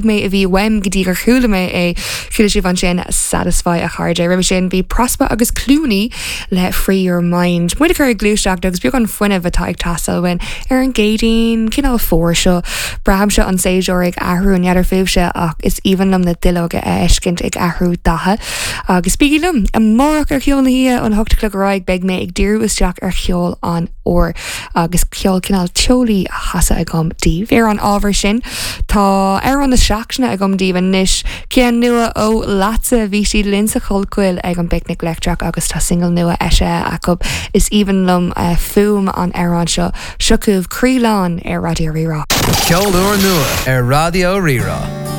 Mé a bhí uaim go dtí gur chuala mé é. Chuala sibh ansin Satisfy a chairde. Roimhe sin bhí Prospa agus Clooney le Free Your Mind. Muid ag cur ag gluaiseacht agus beagán fuinnimh atá ag teastáil uainn ar an gCéadaoin cineál fuar seo. Braithimse an séasúr ag athrú n'fheadar fúibhse ach is aoibhinn liom na duilleoga a fheiscint ag athrú datha. Agus bígí liom amárach ar Cheol na hOíche ón 8 a chlog ar aghaidh beidh mé ag díriú isteach ar cheol an fhómhair. agus ceol cineál teolaí á chasadh agam daoibh. Ar an ábhar sin, tá amhrán na seachtaine agam daoibh anois, ceann nua ó Leatsa. Bhí siad linn sa Chollchoill ag an bPicnic Leictreach agus tá singil nua eisithe acu. Is aoibhinn liom fuaim an amhráin seo. Seo chugaibh Croí Lán ar Raidió Rí-Rá. Ceol úr nua ar Raidió Rí-Rá.